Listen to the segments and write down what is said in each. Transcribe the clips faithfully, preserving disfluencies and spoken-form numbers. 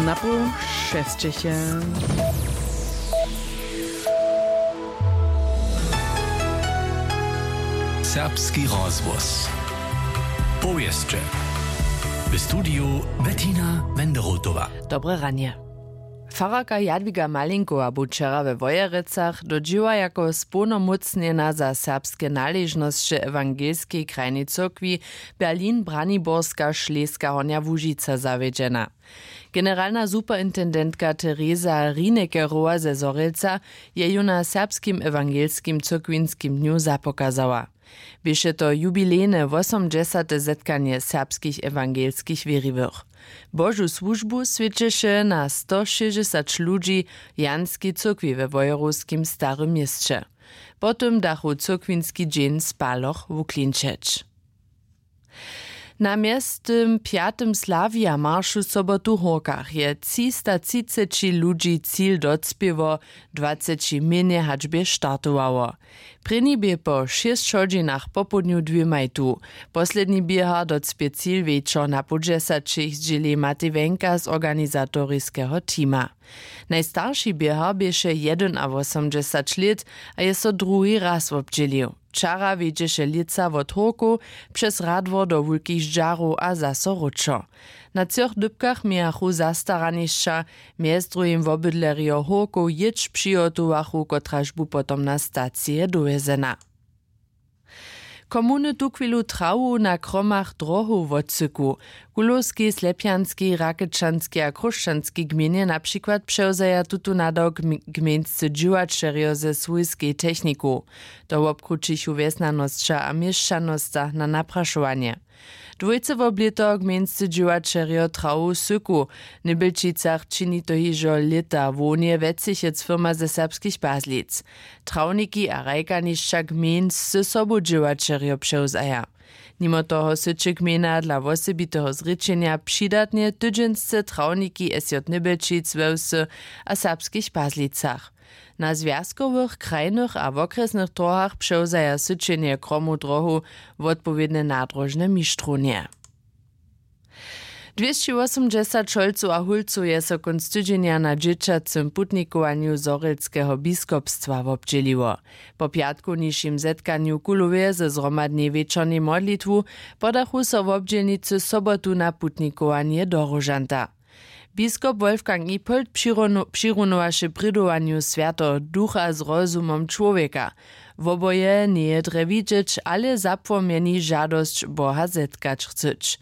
Na pół šesćeše. Serbski rozhłos. Powěsće. W studiju Bettina Wenderotowa. Dobre ranje. Fararka Jadwiga Malinkowa bu wčera we Wojerecach do dźěła jako społnomócnjena za serbske naležnosće ewangelskej krajnej cyrkwi Berlin-Braniborska Šleska Hornja Łužica zawjedźena. Generalna superintendentka Teresa Rinekerowa ze Zhorjelca je ju na serbskim ewangelskim cyrkwinskim dnju zapokazała. Běše to jubilejne wosomdźesate zetkanje serbskich ewangelskich wěriwych. Božu słužbu swjećeše na stošěsćdźesać ludźi w Janskej cyrkwi we Wojerowskim Starym Měsće. Po tym dachu cyrkwinski dźeń spaloch wuklinčeć. Na mjeztym pjatym Slavija maršu sobotu w Hórkach je třista třiceći ludźi cil docpěło, dwaceći mjenje hač bě startowało. Prěni bě po šěsć hodźinach popołdnju dwěmaj tu, posledni běhar docpě cil wječor na poł dźesaćich, zdźěli Matej Wenka z organizatoriskeho teama. Najstarši běhar běše jedynawosomdźesać lět a je so druhi raz wobdźělił. Wčera wjedźeše lětsa wot Hórkow přez Radwor do Wulkich Ždźarow a zaso wróćo. Na třoch dypkach mějachu zastaranišća, mjez druhim wobydlerjo Hórkow jětš přihotowachu, kotraž bu potom na stacije dowjezena. Komuny tuchwilu trawu na kromach drohow wotsyku. W Kulowskej, Slepjanskej, Rakečanskej a Chróšćanskej gmejnje na přikład přewzaja tutón nadawk gmejnscy dźěłaćerjo ze swójskej technikow. To wobkrućichu wjesnjanosća a měšćanosća na naprašowanje. Dwójce wob lěto gmejnscy dźěłaćerjo trawu syku. W Nybjelčicach čini to hižo lěta hłownje wjecychec firma ze serbskich Pazlic. Trawniki a hrajkanišća gmejnscy sobudźěłaćerjo přewzaja. Nimo toho syće gmejna dla wosebiteho zrěčenja přidatnje tydźensce trawniki sj Nybjelčic we wsy a serbskich Pazlicach. Na zwjazkowych, krajnych a wokrjesnych dróhach přewzaja syćenje kromow dróhow wotpowědne nadróžne mištrownje. Dwěsći wosomdźesać holcow a hólcow je so kónc tydźenja na dźěćacym putnikowanju zhorjelskeho biskopstwa wobdźěliło. Po pjatkownišim zetkanju w Kulowje ze zhromadnej wječornej modlitwu podachu so wobdźělnicy sobotu na putnikowanje do róžanta. Biskop Wolfgang Ippold přirunowaše prědowanju swjateho Ducha z rozumom čłowjeka. Woboje njeje drje widźeć, ale zapłomjeni žadosć Boha zetkać chcyć.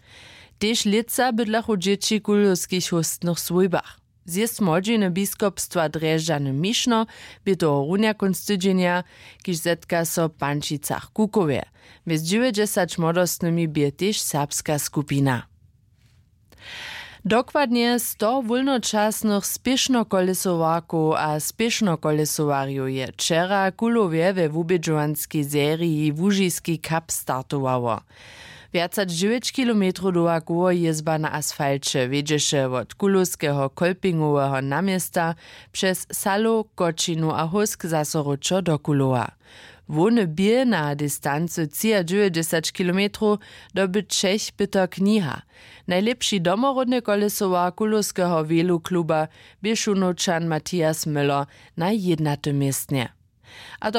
Tež lětsa bydlachu dźěći w kulowskich hóstnych swójbach. Zjězd młodźiny biskopstwa Drježdźany Mišno bě tohorunja kónc tydźenja, kiž zetka so w Pančicach Kukowje. Mjez dźewjećdźesać młodostnymi bě tež serbska skupina. Dokładnje sto wólnočasnych spěšnokolesowarkow a spěšnokolesowarjow je wčera w Kulowje we wubědźowanskej seriji Łužiski cup startowało. Wjac hač dźewjeć kilometrow dołha koło jězba na asfalće wjedźeše wot kulowskeho kolpingoweho naměsta přez salow, kočinu a hósk zaso wróćo do kulowa. Hłowny bě na distancy třiadźewjećdźesać kilometrow doby třech pyter kniha. Najlěpši domoródny kolesowar kulowskeho welu kluba bě šunowčan Matthias Möller na jědnatym městnje. A